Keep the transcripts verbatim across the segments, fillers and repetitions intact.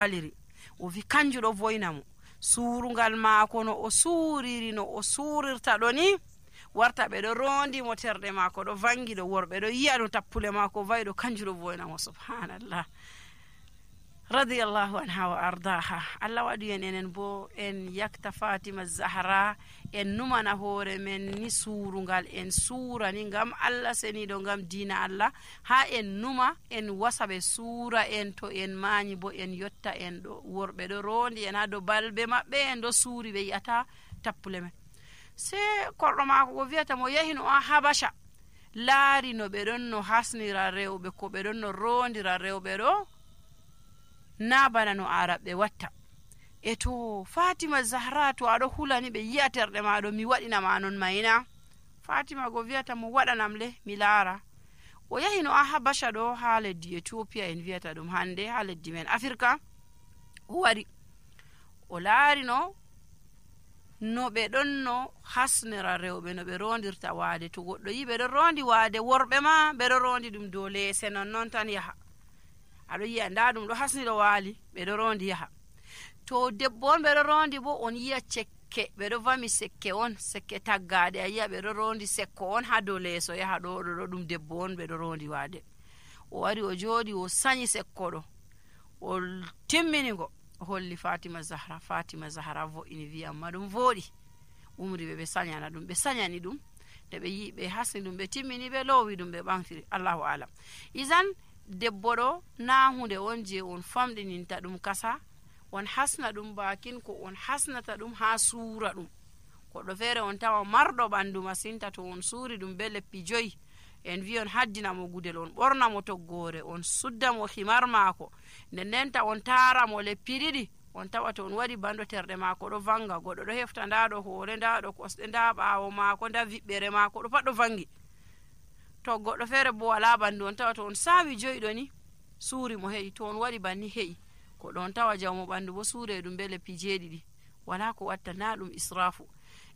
waliri o wi kanju ɗo voyna mo suurungal maako no o suuriri no o suurirta ɗo ni warta ɓe ɗo rondi mo terɗe maako ɗo vangi ɗo worɓe ɗo yi'a no tappule maako vayi ɗo kanju ɗo voyna mo subhanallah radiyallahu anha wa ardaha. Allah waɗi en enen bo en yakta Fatima Zahra en numana hoore men ni suurungal en suura ni ngam Allah seniɗo ngam diina Allah ha en numa en wasa ɓe suura en to en mañi bo en yotta en ɗo worɓe ɗo rondi en ha dow balbe maɓɓe en ɗo suuri ɓe yi'ata tappule men. Se korɗo maako ko wiyata mo yahi no a Habasha laari no ɓe ɗon no hasnira rewɓe ko ɓe ɗon no rondira rewɓe ɗo na bana no araɓe watta. E to Fatima Zahra to aɗo hulani ɓe yi'a terɗe maɗo mi waɗinama non mayna. Fatima go wiyata mo waɗanam le mi laara. O yahi no a Habasha ɗo ha leddi Ethiopia en wiyata ɗum hande ha leddi men Afrika. O wari o laari no no ɓe ɗon no hasnira rewɓe no ɓe rondirta waade. To goɗɗo yi ɓe ɗo rondi waade worɓe ma ɓe ɗo rondi ɗum dow leese non non tan yaha. Aɗo yi'a nda ɗum ɗo hasniro waali ɓe ɗo rondi yaha. To debbo on ɓe ɗo rondi bo on yi'a cekke ɓe ɗo vami sekke on sekke taggade a yi'a ɓe ɗo rondi sekko on ha dow leeso yaha ɗo ɗo ɗum debbo on ɓe ɗo rondi waade. O wari o jooɗi o sanyi sekko ɗo o timminigo o holli Fatima Zahra. Fatima Zahra vo'ini wi amma ɗum vooɗi umri ɓe ɓe sanyana ɗum ɓe sanyani ɗum nde ɓe yi ɓe hasni ɗum ɓe timmini ɓe loowi ɗum ɓe ɓamtiri. Allahu alam. Izan debbo ɗo na hunde on je on famɗininta ɗum kasa on hasna ɗum bakin ko on hasnata ɗum ha suura ɗum. Goɗɗo feere on tawa marɗo ɓandu masinta to on suuri ɗum be leppi joyi en wi on haddina mo gudel on ɓorna mo toggore on sudda mo himar maako nden ndenta on taara mo leppi ɗiɗi on tawa to on waɗi banɗo terɗe maako ɗo vanga goɗɗo ɗo hefta nda ɗo hoore nda ɗo kosɗe nda ɓaawo maako nda viɓɓere maako ɗo pat ɗo vangi. To goɗɗo feere bo wala ɓandu on tawa to on saawi joyiɗo ni suuri mo heƴi to on waɗi banni heƴi ko ɗon tawa jawmo ɓandu bo suure ɗum be leppi jeeɗiɗi wala ko watta na ɗum israfu.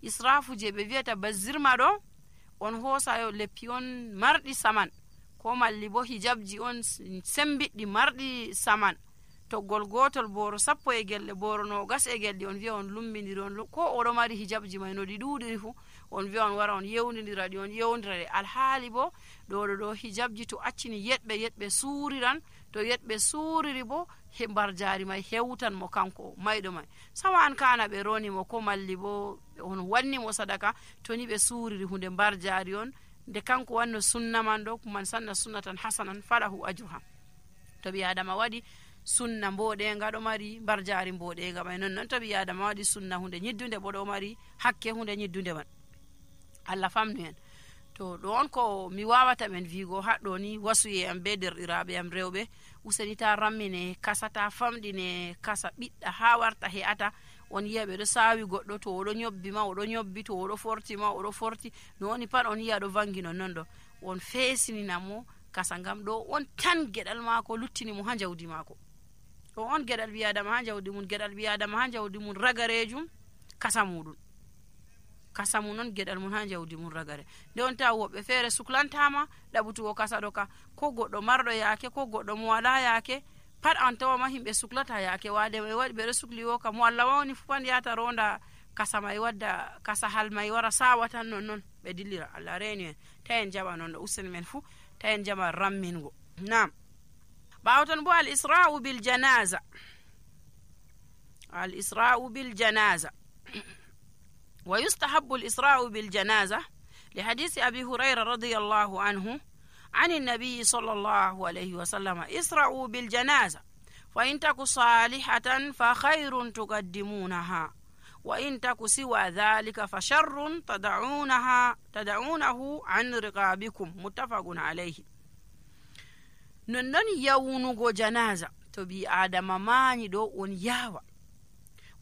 Israfu je ɓe wiyata bazirma ɗo on hoosa yo leppi on marɗi saman ko malli bo hijabji on sembiɗɗi marɗi saman toggol gotol boro sappo e gelle boro no gas e gelɗi on wiya on lumbidiri on ko oɗo mari hijabji may no ɗi ɗuɗiri fu on wiya on wara on yewdidira ɗi on yewdira ɗe alhaali bo ɗo ɗo ɗo hijabji to accini yeɗɓe yeɗɓe suuriran to yeɗɓe suuriri bo he mbar jaari may hewtan mo kanko mayɗo may sawa an kana ɓe roni mo ko malli bo on wanni mo sadaka to ni ɓe suuriri hunde mbar jaari on nde kanko wanno sunna man ɗo man sanna sunnatan hasanan falahu ajruha. To ɓi adama waɗi sunna mboɗenga ɗo mari mbar jaari mboɗenga may non non to ɓi adama waɗi sunna hunde ñiddunde bo ɗo mari hakke hunde ñiddunde man. Allah famnu en. To ɗo on ko mi wawata men vigo haɗɗo ni wasuye am be derɗiraɓe am rewɓe useni ta rammine kasa ta famɗine kasa ɓiɗɗa ha warta he'ata on yiya ɓe ɗo sawi goɗɗo to oɗo ñobbi ma oɗo ñobbi to oɗo forti ma oɗo forti no woni pat on yiya ɗo vangi non non ɗo on fesinina mo kasa ngam ɗo on tan geɗal maako luttini mo ha jawdi maako. Ɗo on geɗal biyadama ha jawdi mun geɗal biyadama ha jawdi mun ragarejum kasa muɗum kasa mum non geɗal mun ha jawdi mun ragare nde on tawa woɓɓe feere suklantama ɗaɓutugo kasa ɗo ka ko goɗɗo marɗo yaake ko goɗɗo mo wala yaake pat an tawama himɓe suklata yaake wade ɓe waɗi ɓeɗo sukli wo ka mo Allah wawni fu pan yata ronda kasa may wadda kasa hal may wara sawa tan non non ɓe dillira. Allah reeni en ta en jaɓa non ɗo useni men fu ta en jaɓa rammingo. Nam ɓawo ton bo al isra'u bil janaza al isra'u bil janaza ويستحب الإسراء بالجنازة لحديث أبي هريرة رضي الله عنه عن النبي صلى الله عليه وسلم اسرعوا بالجنازة فإن تك صالحة فخير تقدمونها وإن تك سوى ذلك فشر تدعونها تدعونه عن رقابكم متفق عليه. ننن يونغو جنازة تبي آدم ماني دو on yawa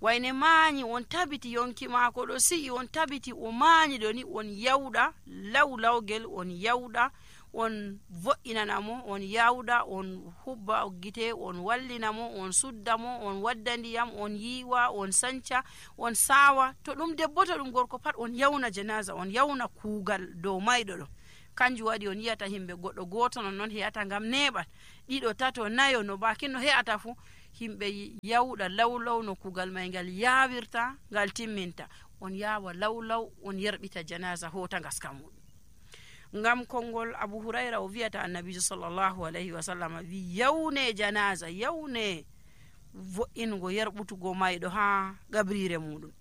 wayne mañi on tabiti yonki maako ɗo si'i on tabiti o mañi ɗo ni on yawɗa law lawgel on yawɗa on vo'inana mo on yawɗa on hubba gite on wallina mo on sudda mo on wadda ndiyam on yiwa on sanca on sawa to ɗum debbo to ɗum gorko pat on yawna janaza on yawna kuugal dow mayɗo ɗo kanjum waɗi on yiyata himɓe goɗɗo goto non non he'ata ngam neɓal ɗiɗo tato nayo no bakin no he'ata fu himɓe yawɗa lawlaw no kugal may ngal yaawirta ngal timminta, on yaawa lawlaw on yerɓita janaza hota ngaska muɗum. ngam konngol Abu Hurayra o wiyata annabijo sallallahu alayhi wa sallam wi yawne janaza, yawne vo'ingo yerɓutugo mayɗo ha gabrire muɗum.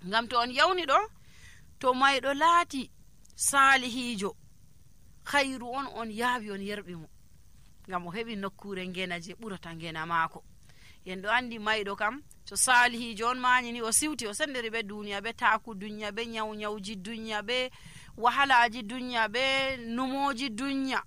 ngam to on yawni ɗo, to mayɗo laati salihijo, khayru on on yaawi on yerɓi mo, ngam o heɓi nokkure ngena je ɓurata ngena maako. en ɗo andi mayɗo kam to salihijo on mañi ni o siwti o sendiri ɓe duniya, ɓe taku dunya, ɓe nyaw nyawji dunya, ɓe wahalaji dunya, ɓe numoji dunya,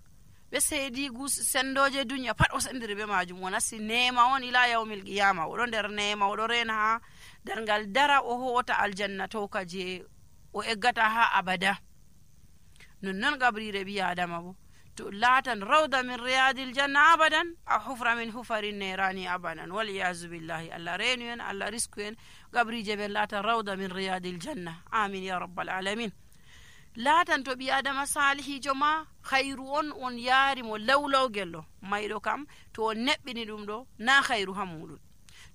ɓe seedigu sendoje dunya, pat o sendiri ɓe majum. o nasti nema on ila yawmil qiyama, oɗo nder nema, oɗo rena ha darngal dara o hota aljanna toka je o eggata ha abada. nonnon gabrire ɓi adama bo to laatan rawda min riyadil janna abadan a hufra min hufarin nerani abadan, waliyazu billahi. allah renu en, allah risku en, gabrije ɓen laatan rawda min riyadil janna, amin ya rabbal alamin. laatan to ɓi adama salihijo ma, khayru on on yaari mo lawlawgel ɗo. mayɗo kam to on neɓɓini ɗum ɗo na khayru ha muɗum,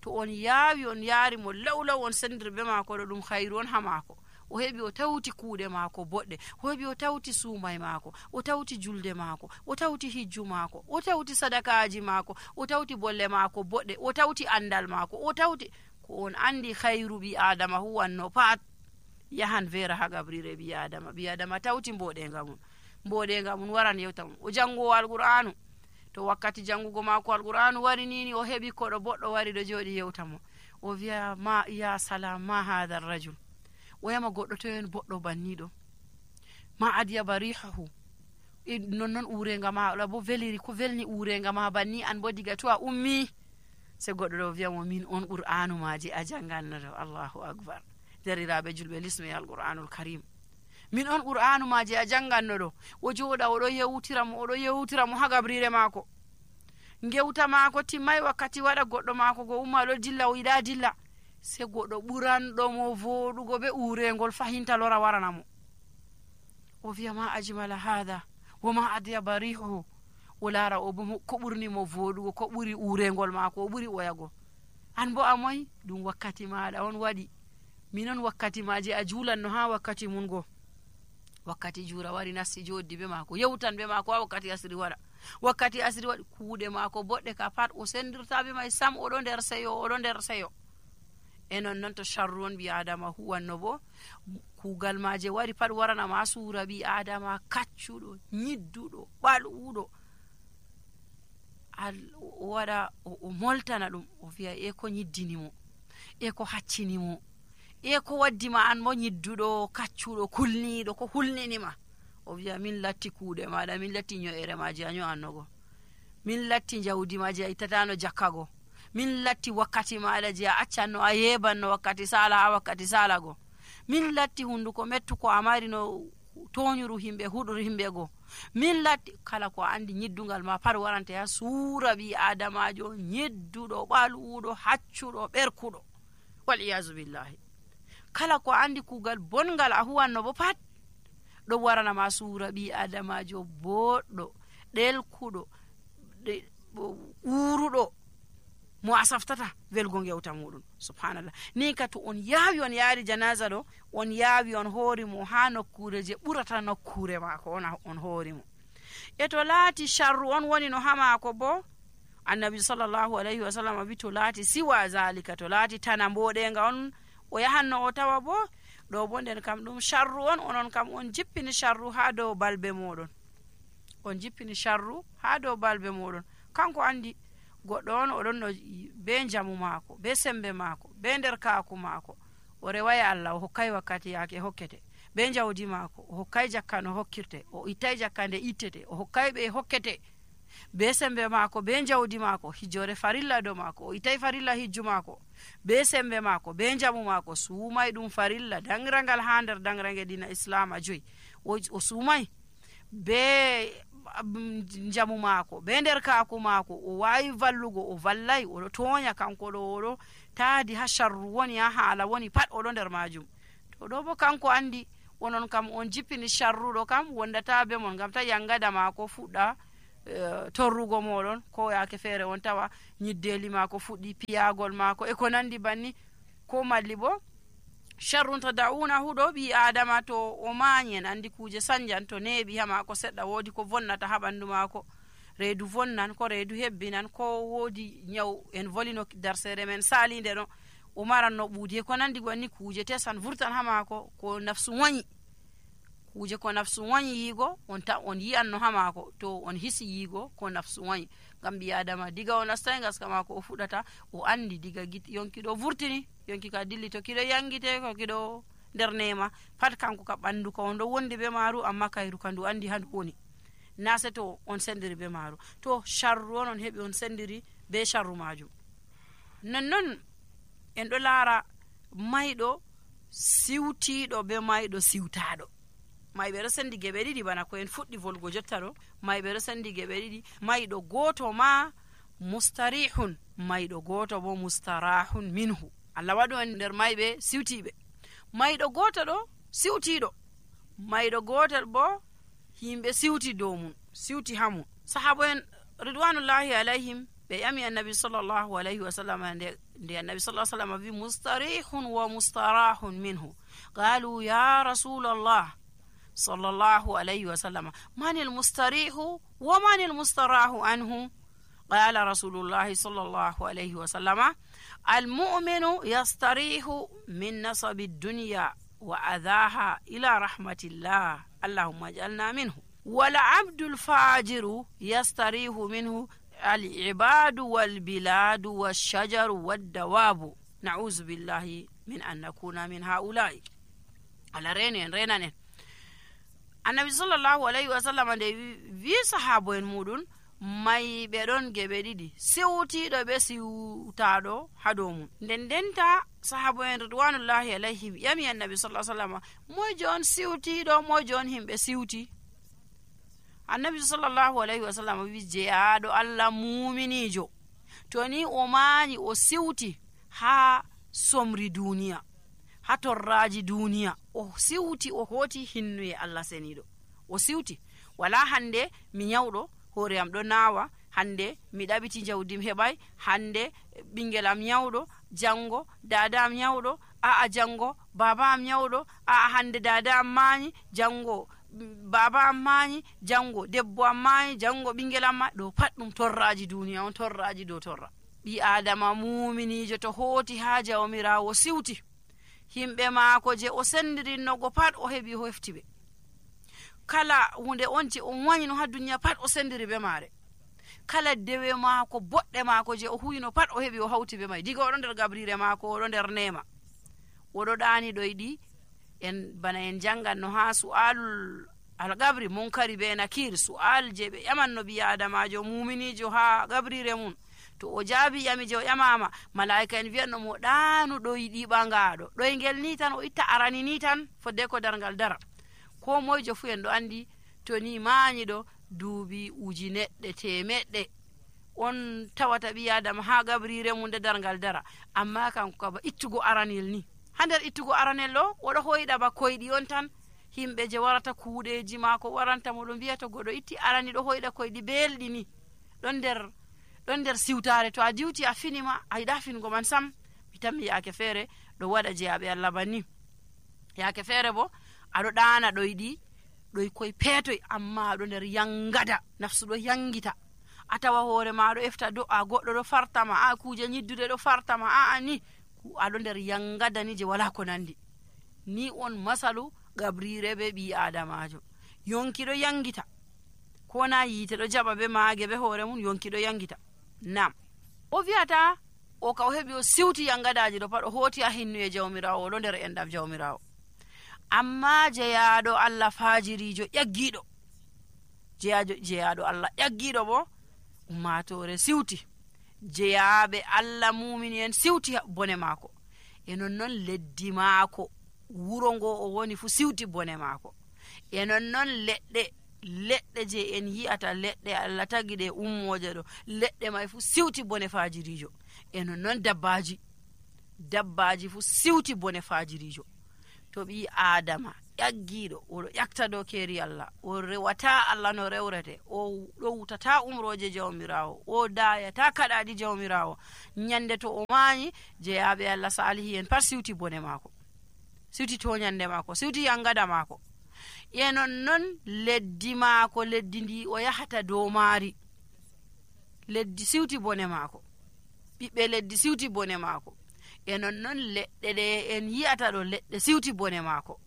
to on yaawi on yaari mo lawlaw on sendir ɓe maako ɗo, ɗum khayru on ha maako. o heɓi o tawti kuuɗe maako boɗɗe, o heɓi o tawti suumay maako, o tawti julde maako, o tawti hijju maako, o tawti sadakaji maako, o tawti bolle maako boɗɗe, o tawti andal maako, o tawti ko on andi khayru ɓi adama huwanno pat yahan vera ha gabrire ɓi adama. ɓi adama tawti mboɗenga mum, mboɗenga mum waran yewta mum. o jangowo alqur'anu, to wakkati jangugo maako alqur'anu wari nini, o heɓi koɗo boɗɗo wari ɗo jooɗi yewta mo, o wiya ma ya salam ma hadha rajul, o yama goɗɗo to en boɗɗo banniɗo, ma adiya barihahu, nonnon urenga ma bo veliri, ko velni urenga ma banni, an bo diga to a ummi. se goɗɗo ɗo wiyamo min on qur'anu maji a jangannoɗo. allahu akbar. deriraɓe julɓe lisme alqur'anul karim, min on qur'anu maji a jangannoɗo. o jooɗa oɗo yewtiramo, oɗo yewtiramo ha gabrire maako, gewta maako timmay, wakkati waɗa goɗɗo maako go umma ɗo dilla, o yiɗa dilla, se goɗɗo ɓuranɗomo voɗugo be urengol fahinta lora waranamo. o wiya ma ajmala hada woma adiya barihu, o laara o bo ko ɓurni mo voɗugo, ko ɓuri urengol maako, o ɓuri oyago. an bo a moyi ɗum wakkati maɗa on waɗi, minon wakkati maji a julanno ha wakkati mun go. wakkati jura wari nasti joddi be maako, yewtan be maako ha wakkati asiri waɗa, wakkati asiri waɗi kuuɗe maako boɗɗe ka pat o sendirta be may sam, oɗo nder seyo, oɗo nder seyo. e non noon to sharru on ɓi adama huwanno bo, kuugal maje wari pat waranama suura ɓi adama kaccuɗo, ñidduɗo, ɓal'uɗo, o waɗa o moltana ɗum, o wiya e ko ñiddinimo, e ko haccinimo, e ko waddima an mo ñidduɗo, kaccuɗo, kulniɗo, ko hulninima. o wiya min latti kuuɗe maɗa, min latti ño'ere maji a ño'annogo, min latti jawdi maji a ittatano jakkago, min latti wakkati maɗa je a accanno a yebanno wakkati sala ha wakkati salago, min latti hunduko mettuko a mari no toñuru himɓe, huɗuru himɓe go, min latti kala ko andi ñiddugal ma pat warante ha suura ɓi adamajo ñidduɗo, ɓal'uɗo, haccuɗo, ɓerkuɗo, wal iyazu billahi. kala ko andi kugal bongal a huwanno bo pat ɗo waranama suura ɓi adamajo boɗɗo, ɗelkuɗo, uruɗo, mo a saftata welgo gewta muɗum. subhanallah. ni ka to on yaawi on yaari janaza ɗo, on yaawi on hoorimo ha nokkure je ɓurata nokkure maako on, on hoorimo. e to laati sharru on woni no ha maako bo, annabi sallallahu alayhi wa sallam wi to laati siwa zalika, to laati tana mboɗenga on o yahanno o tawa bo, ɗo bo nden kam ɗum sharru on, onon kam on jippini sharru ha dow balbe moɗon, on jippini sharru ha dow balbe moɗon. kanko andi goɗɗo on oɗon no be jamu maako, be sembe maako, be nder kaaku maako, o reway Allah, o hokkay wakkati yaake hokkete, be jawdi maako, o hokkay jakka no hokkirte, o ittay jakka nde ittete, o hokkay ɓe hokkete, be sembe maako, be jawdi maako, hijjore farilla do maako, o ittay farilla hijju maako, be sembe maako, be jamu maako, suumay ɗum farilla dangrangal ha nder dangrange dina islama joyi, o suumay be jamu maako, be nder kaaku maako, o wawi vallugo, o vallay, oɗo toña kanko ɗo, oɗo taadi ha sharru woni, ha haala woni pat oɗo nder majum. to ɗo bo kanko andi onon kam on jippini sharruɗo kam wondata be mon, ngam ta yangada maako fuɗɗa uh, torrugo moɗon, ko yake feere on tawa nyiddeli maako fuɗɗi piyagol maako e ko nandi banni, ko malli bo sharrun tada'unahu ɗo ɓi adama to o mañi en andi kuje sanjan to neeɓi ha maako seɗɗa woodi ko vonnata ha ɓandu maako, reedu vonnan ko reedu hebbinan ko woodi nyaw en volino darsere men salinde ɗo o maranno ɓuudi e ko nandi banni kuje tesan vurtan ha maako ko nafsu wañi, kuje ko nafsu wañi yiigo on ta on yi'anno ha maako to on hisi yiigo ko nafsu wañi, ngam ɓi adama diga o nastai gaska maako o fuɗata o andi diga yonki ɗo vurtini, yonki ka dilli to kiɗo yangite ko kiɗo nder nema pat kanko ka ɓandu ka on ɗo wondi be maaru, amma kayru ka ndu andi ha ndu woni, na se to on sendiri be maaru, to sharru on on heɓi on sendiri be sharru majum. nonnon en ɗo laara mayɗo siwtiɗo be mayɗo siwtaɗo. mayɓe ɗo sendi geɓe ɗiɗi bana ko en fuɗɗi volgo jotta ɗo, mayɓe ɗo sendi geɓe ɗiɗi, mayɗo goto ma mustarihun, mayɗo goto bo mustarahun minhu. Allah waɗu en nder mayɓe siwtiɓe. mayɗo goto ɗo siwtiɗo, mayɗo gotel bo himɓe siwti dow mum, siwti ha mum. sahaba en ridwanullahi alayhim ɓe ƴami annabi sallllahu alayhi wa sallam nde nde annabi sallah sallam wi mustarihun wa mustarahun minhu, qalu ya rasulallah sallallahu alayhi wa sallam man almustarihu wa man almustarahu anhu, qala rasulullahi sallallahu alayhi wa sallam almu'minu yastarihu min nasabi dunya wa adhaha ila rahmatillah allahumma ij'alna minhu, wal abdul fajiru yastarihu minhu العباد والبلاد والشجر والدواب نعوذ بالله من أن نكون من هؤلاء. على رينين رينين النبي صلى الله عليه وسلم في صحابة مودون may ɓe ɗon geɓe ɗiɗi, siwtiɗo ɓe siwtaɗo ha dow mum. nden denta sahaba en ridwanullahi alayhim ƴami annabi sallah sallam mojo on siwtiɗo, mojo on himɓe siwti. annabi sallallahu alayhi wa sallam wi jeyaɗo Allah muminijo to ni o mañi o siwti ha somri duniya, ha torraji duniya, o siwti o hoti hinnuye Allah seniɗo, o siwti wala hande mi nyawɗo hoore am ɗo nawa, hande mi ɗaɓiti jawdim heɓay, hande ɓingel am nyawɗo, jango dada am nyawɗo, a'a jango baba am nyawɗo, a'a hande dada am mañi, jango baba am mañi, jango debbo am mañi, jango ɓingel am ma. ɗo pat ɗum torraji duniya on, torraji dow torra. ɓi adama muminijo to hoti ha jawmirawo siwti, himɓe maako je o sendirinnogo pat o heɓi o hefti ɓe, kala hunde on je on wañino ha duniya pat o sendiri be maare, kala dewe maako boɗɗe maako je o huyino pat o heɓi o hawti be may, diga oɗo nder gabrire maako oɗo nder nema, oɗo ɗani ɗoyɗi en bana en janganno ha su'alul algabri munkari be nakir, su'al je ɓe ƴamanno ɓi adamajo muminijo ha gabrire mum, to o jaabi ƴami je o ƴamama, malaika en wiyanno mo ɗanu ɗoyɗi ɓangaɗo, ɗoygel ni tan o itta arani ni tan fodde ko dargal dara. ko moyjo fu en ɗo andi to ni mañiɗo duubi uji neɗɗe temeɗɗe on tawata ɓi adama ha gabrire mum nde dargal dara, amma kanko kaba ittugo aranel ni, ha nder ittugo aranel ɗo oɗo hoyɗa ba koyɗi on tan, himɓe je warata kuuɗeji maako waranta mo ɗo mbiya to goɗo itti arani ɗo hoyɗa koyɗi belɗi ni, ɗon nder ɗon nder siwtare, to a diwti a finima a yiɗa fingo man sam. mi tammi yaake feere ɗo waɗa jeyaɓe Allah banni, yaake feere bo aɗo ɗana ɗoyɗi ɗoy koye peetoy, amma aɗo nder yangada, nafsu ɗo yangita, a tawa hoore ma ɗo efta do'a, goɗɗo ɗo fartama, a kuje nyiddude ɗo fartama, a ni aɗo nder yangada ni je wala ko nandi. ni on masalu gabrire be ɓi adamajo, yonki ɗo yangita, ko na yiite ɗo jaɓa be maage be hoore mum, yonki ɗo yangita. nam o wiyata o ka o heɓi o siwti yangadaji ɗo pat o hoti a hinnuye jawmirawo, oɗo nder endam jawmirawo. amma jeyaɗo Allah fajirijo ƴaggiɗo, jeyajo jeyaɗo Allah ƴaggiɗo bo ummatore siwti, jeyaɓe Allah mumini en siwti bone maako, e nonnon leddi maako wuro ngo o woni fu siwti bone maako, e nonnon leɗɗe leɗɗe je en yi'ata leɗɗe Allah tagi ɗe ummoje ɗo, leɗɗe may fu siwti bone fajirijo, e nonnon dabbaji dabbaji fu siwti bone fajirijo. to ɓi adama ƴaggiiɗo oɗo ƴakta dow keeri Allah, o rewata Allah no rewrete, o ɗowtata umroje jawmirawo, o dayata kaɗaɗi jawmirawo. ñande to o mañi jeyaɓe Allah salihi en pat siwti bone maako, siwti toñande maako, siwti yangada maako. e non non leddi maako, leddi ndi o yahata dow maari, leddi siwti bone maako, ɓiɓɓe leddi siwti bone maako. e non non leɗɗe ɗe en yiyata ɗo, leɗɗe siwti bone maako,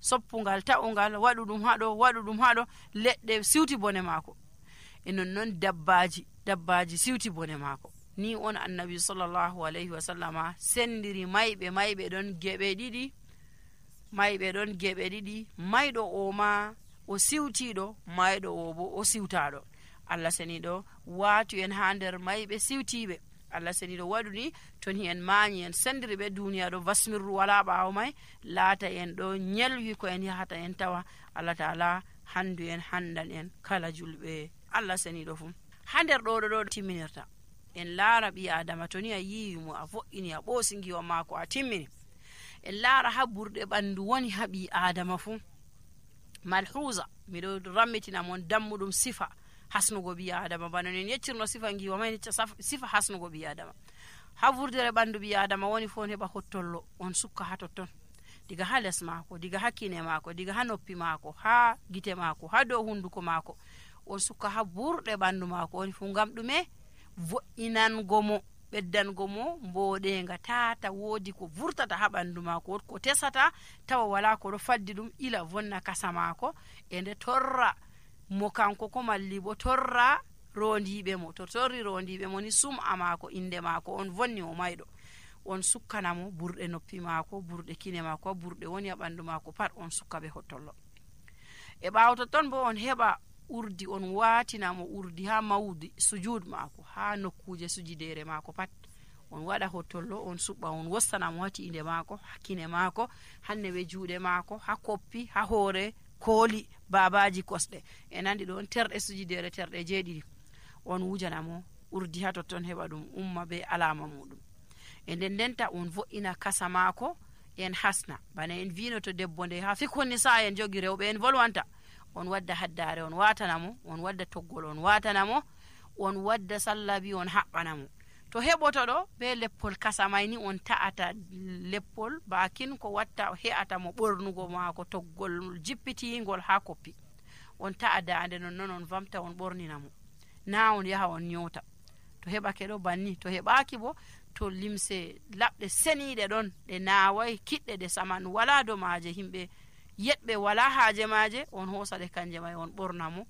soppungal ta'ungal waɗu ɗum haɗo, waɗu ɗum haɗo, leɗɗe siwti bone maako. e non non dabbaji, dabbaji siwti bone maako. ni on annabi sallallahu alayhi wa sallama sendiri mayɓe, mayɓe ɗon geɓe ɗiɗi, mayɓe ɗon geɓe ɗiɗi, mayɗo o ma o siwtiɗo, mayɗo o bo o siwtaɗo. Allah seniɗo watu en ha nder mayɓe siwtiɓe. Allah seniɗo waɗu ni toni en mañi en sendiri ɓe duniya ɗo basmirru wala ɓawo may, laata en ɗo ñelwi ko en yahata en tawa Allah taala handu en handan en kala julɓe Allah seniɗo fu. ha nder ɗo ɗo ɗo timminirta en laara ɓi adama, toni a yiwimo a vo'ini a ɓoosi giwa maako a timmini, en laara ha ɓurɗe ɓandu woni ha ɓi adama fu. malhusa miɗo rammitina mon dammuɗum sifa hasnugo ɓi adama, bano en yeccirno sifa giwa may sifa hasnugo ɓi adama. ha vurdere ɓandu ɓi adama woni fo on heɓa hottollo on sukka ha totton, diga ha les maako, diga ha kine maako, diga ha noppi maako, ha gite maako, ha dow hunduko maako, on sukka ha burɗe ɓandu maako. woni fu ngam ɗume? vo'inango mo, ɓeddango mo mboɗenga, tata woodi ko vurtata ha ɓandu maako, ko tesata tawa wala ko ɗo faddi ɗum ila vonna kasa maako, e nde torra mo kanko ko malli bo torra rondiɓe mo. to torri rondiɓe mo ni sum'a maako, inde maako on vonni o mayɗo. on sukkanamo burɗe noppi maako, burɗe kine maako, burɗe woni ha ɓandu maako pat on sukka ɓe hottollo. e ɓawo totton bo on heɓa urdi, on watinamo urdi ha mawdi sujud maako, ha nokkuje sujidere maako pat on waɗa hottollo, on suɓɓa, on wostanamo ha tiinde maako, ha kine maako, hanne ɓe juuɗe maako, ha koppi, ha hoore, kooli, babaji kosɗe, e nandi ɗon terɗe sujidere terɗe jeeɗiɗi. on wujanamo urdi ha totton heɓa ɗum umma be alama muɗum. e nden ndenta on vo'ina kasa maako, en hasna bana en vino to debbo nde ha fikhonni sa en jogi rewɓe en volwanta, on wadda haddare on watanamo, on wadda toggol on watanamo, on wadda sallabi on haɓɓanamo. to heɓoto ɗo be leppol kasa mayni on ta'ata leppol bakin ko watta he'ata mo ɓornugo maako toggol jippitingol ha koppi, on ta'a dande non non on vamta on ɓorninamo, na on yaha on nyota. to heɓake ɗo banni, to heɓaki bo to limse laɓɗe seniɗe ɗon ɗe nawai kiɗɗe ɗe saman wala do maje, himɓe yeɗɓe wala haaje maje, on hosa ɗe kanje may on ɓornamo,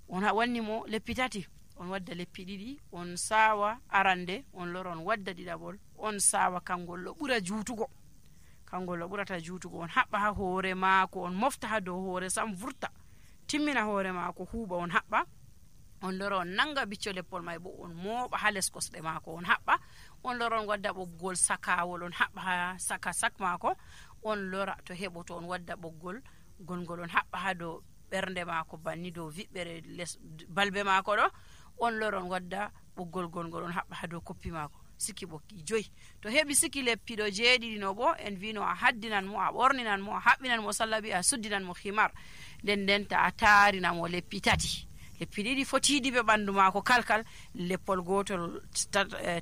on wanni mo leppi tati, on wadda leppi ɗiɗi, on sawa arande, on lora on wadda ɗiɗaɓol, on sawa kangol ɗo ɓura juutugo, kangol ɗo ɓurata juutugo, on haɓɓa ha hoore maako, on mofta ha dow hoore sam vurta, timmina hoore maako huuɓa, on haɓɓa, on lora on nanga bicco leppol may bo on mooɓa ha les kosɗe maako, on haɓɓa, on lora on wadda ɓoggol sakawol, on haɓɓa ha saka sak maako, on lora to heɓoto on wadda ɓoggol gongol on haɓɓa ha dow ɓernde maako, banni dow viɓɓere les balbe maako ɗo, on lora on wadda ɓoggol gongol on haɓɓa ha dow koppi maako, sikki ɓokki joyi. to heɓi sikki leppiɗo jeeɗiɗi no bo en vino a haddinan mo, a ɓorninan mo, a haɓɓinan mo sallabi, a suddinan mo himar, nden ndenta a tarina mo leppi tati, leppi ɗiɗi fotiɗi ɓe ɓandu maako kalkal, leppol gotol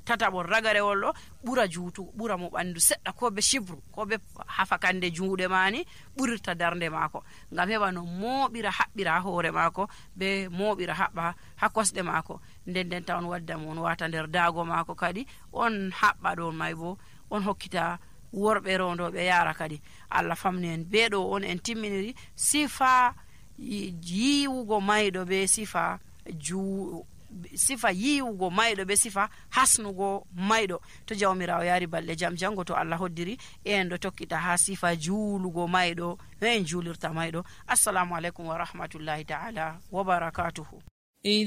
tataɓol ragarewol ɗo ɓura juutu, ɓura mo ɓandu seɗɗa, ko be shibru, ko be hafakande juuɗe mani ɓurirta darnde maako, ngam heɓa no mooɓira haɓɓira ha hoore maako, be mooɓira haɓɓa ha kosɗe maako. nden ndenta on wadda mo on wata nder daago maako kadi, on haɓɓa ɗon may bo on hokkita worɓe rondoɓe yara kadi. Allah famni en beɗo on en timminiri sifa yiwugo mayɗo be sifa ju sifa yiwugo mayɗo be sifa hasnugo mayɗo. to jawmirawo yari balɗe jam jango, to Allah hoddiri en ɗo tokkita ha sifa juulugo mayɗo, en juulirta mayɗo. assalamu aleykum wa rahmatullahi ta'ala wa barakatuhu.